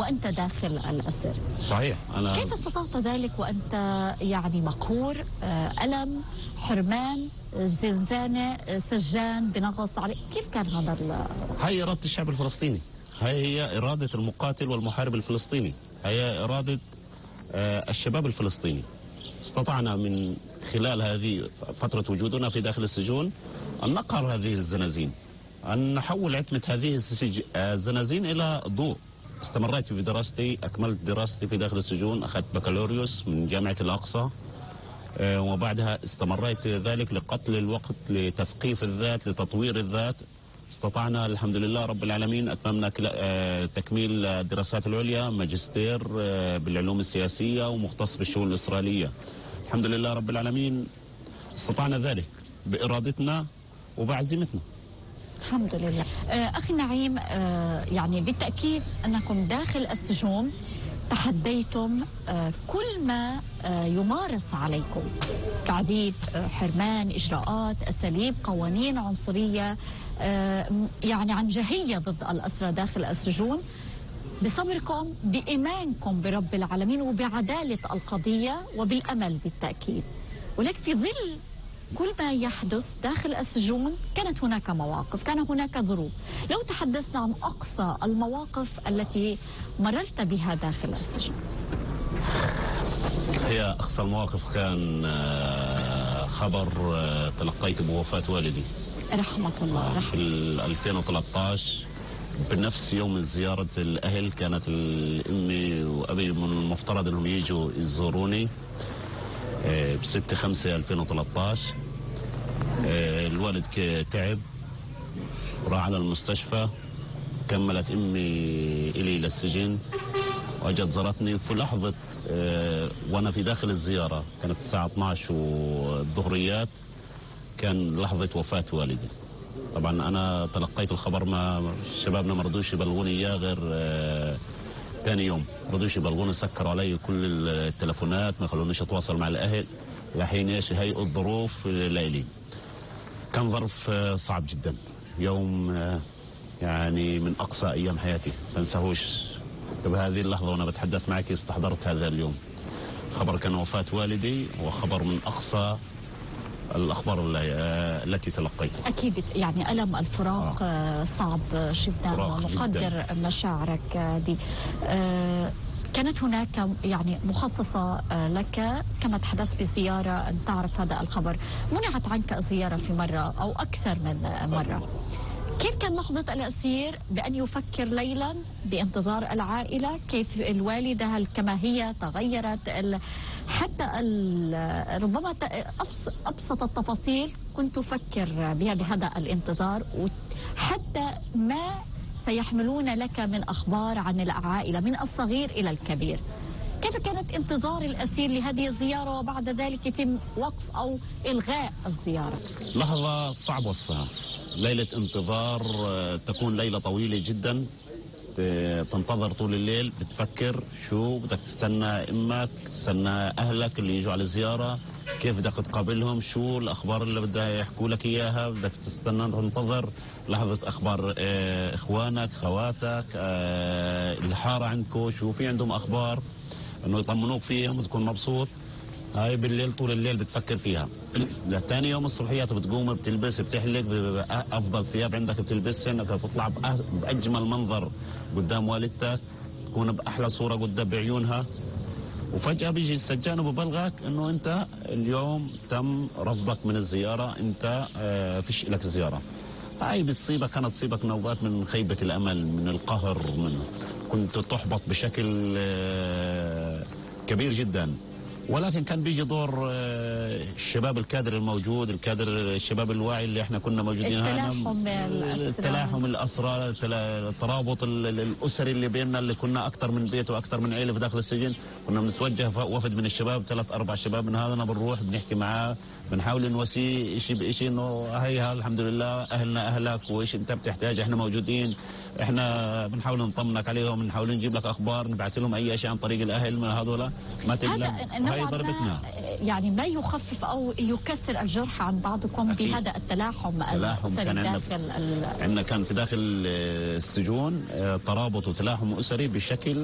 وأنت داخل الأسر. صحيح. كيف استطعت ذلك وأنت يعني مقهور، ألم، حرمان، زنزانة، سجان بنغص عليك؟ كيف كان هذا هي إرادة الشعب الفلسطيني، هي إرادة المقاتل والمحارب الفلسطيني، هي إرادة الشباب الفلسطيني. استطعنا من خلال هذه فترة وجودنا في داخل السجون أن نقهر هذه الزنازين، أن نحول عتمة هذه الزنازين إلى ضوء. استمريت بدراستي، أكملت دراستي في داخل السجون، أخذت بكالوريوس من جامعة الأقصى، وبعدها استمريت ذلك لقتل الوقت، لتثقيف الذات، لتطوير الذات. استطعنا الحمد لله رب العالمين، أتممنا تكميل الدراسات العليا، ماجستير بالعلوم السياسية ومختص بالشؤون الإسرائيلية. الحمد لله رب العالمين استطعنا ذلك بإرادتنا وبعزيمتنا. الحمد لله. أخي نعيم، يعني بالتأكيد أنكم داخل السجون تحديتم كل ما يمارس عليكم، تعذيب، حرمان، إجراءات، أساليب، قوانين عنصرية، يعني عنجهية ضد الأسرى داخل السجون، بصبركم، بإيمانكم برب العالمين وبعدالة القضية وبالأمل بالتأكيد. ولكن في ظل كل ما يحدث داخل السجون كانت هناك مواقف، كان هناك ظروف. لو تحدثنا عن أقصى المواقف التي مررت بها داخل السجن. هي أقصى المواقف كان خبر تلقيت بوفاة والدي رحمة الله رحمة. في 2013 بنفس يوم زيارة الأهل. كانت أمي وأبي من المفترض أنهم يجوا يزوروني ب6/5/2013. الوالد تعب، راح على المستشفى، كملت أمي إلي للسجن وأجت زارتني في لحظة وأنا في داخل الزيارة. كانت الساعة 12 والظهريات، كان لحظة وفاة والدي. طبعا أنا تلقيت الخبر، ما شبابنا ما رضوش يبلغوني إياه غير ثاني يوم. رضوش يبلغوني، سكروا علي كل التلفونات، ما خلونيش أتواصل مع الأهل لحين ايش هيئوا الظروف ليلي. كان ظرف صعب جدا، يوم يعني من أقصى أيام حياتي ما انساهوش. بهذه اللحظة وأنا بتحدث معك استحضرت هذا اليوم. خبر كان وفاة والدي، وخبر من أقصى الأخبار التي تلقيتها. أكيد يعني ألم الفراق صعب جدا، ومقدر مشاعرك دي. كانت هناك يعني مخصصة لك كما تحدثت بزيارة أن تعرف هذا الخبر، منعت عنك الزيارة في مرة أو أكثر من مرة. كيف كان لحظة الأسير بأن يفكر ليلا بانتظار العائلة؟ كيف الوالدة هل كما هي تغيرت؟ حتى ربما أبسط التفاصيل كنت تفكر بها بهذا الانتظار، وحتى ما سيحملون لك من أخبار عن العائلة من الصغير إلى الكبير. كيف كانت انتظار الأسير لهذه الزيارة وبعد ذلك يتم وقف أو إلغاء الزيارة؟ لحظة صعب وصفها. ليلة انتظار تكون ليلة طويلة جدا، تنتظر طول الليل، بتفكر شو بدك تستنى، امك تستنى اهلك اللي يجوا على الزيارة، كيف بدك تقابلهم، شو الاخبار اللي بدها يحكوا لك اياها، بدك تستنى تنتظر لحظة اخبار اخوانك، خواتك، الحارة عندكم شو في عندهم اخبار، انه يطمنوك فيهم وتكون مبسوط. هاي بالليل طول الليل بتفكر فيها. لثاني يوم الصبحيات بتقوم بتلبس، بتحلق، افضل ثياب عندك بتلبسها، انك تطلع باجمل منظر قدام والدتك، تكون باحلى صوره قدام بعيونها. وفجاه بيجي السجان وببلغك انه انت اليوم تم رفضك من الزياره، انت فيش لك زياره. هاي بتصيبك، كانت تصيبك نوبات من خيبه الامل، من القهر، من كنت تحبط بشكل كبير جدا. ولكن كان بيجي دور الشباب الكادر الموجود، الكادر الشباب الواعي اللي احنا كنا موجودين، التلاحم الأسرى، الترابط الأسري اللي بيننا، اللي كنا أكثر من بيت وأكثر من عيلة في داخل السجن. كنا بنتوجه وفد من الشباب، 3-4 شباب من هذا، بنروح بنحكي معاه، بنحاول نواسيه شيء بشيء، انه هي الحمد لله اهلنا اهلك، وايش انت بتحتاج احنا موجودين، احنا بنحاول نطمنك عليهم، بنحاول نجيب لك اخبار، نبعث لهم اي شيء عن طريق الاهل من هذول، ما تقلق. هاي ضربتنا يعني ما يخفف او يكسر الجرح عن بعضكم أكيد. بهذا التلاحم الاسري داخل عندنا كان في داخل السجون ترابط وتلاحم اسري بشكل